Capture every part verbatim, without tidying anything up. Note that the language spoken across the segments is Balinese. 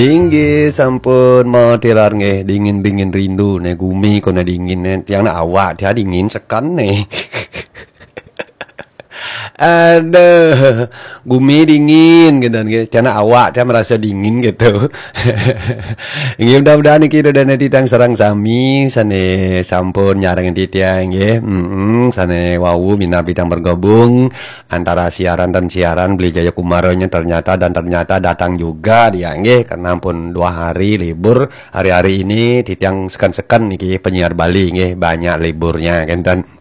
Inggih sampun mau tilar nggih, dingin-dingin rindu ne gumi kono dingin ne. Tiang ne awak tiang dingin seken ne. Aduh, gumi dingin gitu nggih. Tiang ne awak tiang merasa dingin gitu. Inggih, mudah-mudahan niki ida dane titiang sareng sami sane sampun nyarengin titiang nggih. Mm-mm, sane wau minab titiang bergabung antara siaran dan siaran, Beli Jaya Kumaranya ternyata dan ternyata datang juga dia nggih, karena pun dua hari libur. Hari-hari ini titiang seken-seken niki penyiar Bali nggih, banyak liburnya kenten.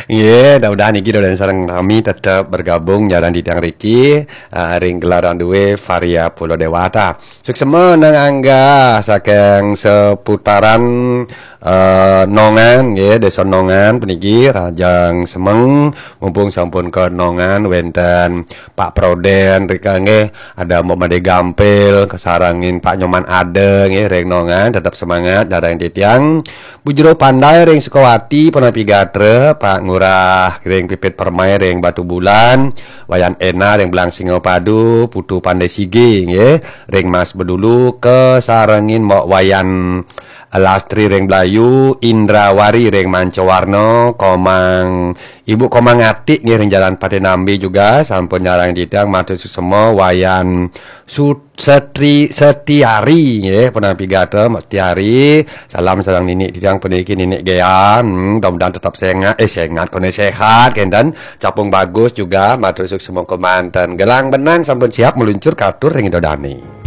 Nggih, mudah-mudahan niki ida dane sareng sami tetep bergabung nyarengin titiang riki, ah, ring gelaran duwe Varia Pulo Dewata. Suksma nang angga saking seputaran eh, Nongan nggih, Desa Nongan puniki, rahajeng semeng, mumpung sampun ka Nongan wenten Pak Proden rika nggih, ada Mbok Made Gampil, kasarengin Pak Nyoman Ade nggih ring Nongan, tetep semangat nyarengin titiang. Bu Jero Pandai ring Sukawati, punapi gatra, Pak Ngurah ring Pipit Permai ring Batubulan, Wayan Ena ring Belang Singapadu, Putu Pandai Sige nggih, ring Mas Bedulu, kasarengin Mbok Wayan Lastri ring Blayu, Indrawari ring Mancawarna, Komang, Ibu Komang Atik nggih ring Jalan Patinambi juga sampun nyarengin titiang, matur suksma. Wayan Su-, Setri, Setiari nggih, punapi gatra Mbok Setiari. Salam sareng ninik titiang puniki, Ninik Gea. Hmm, mudah-mudahan tetap sengat, eh, sengat, kone sehat kenten. Capung Bagus juga, matur suksma kemanten. Gelang benang sampun siap meluncur katur ring ida dane.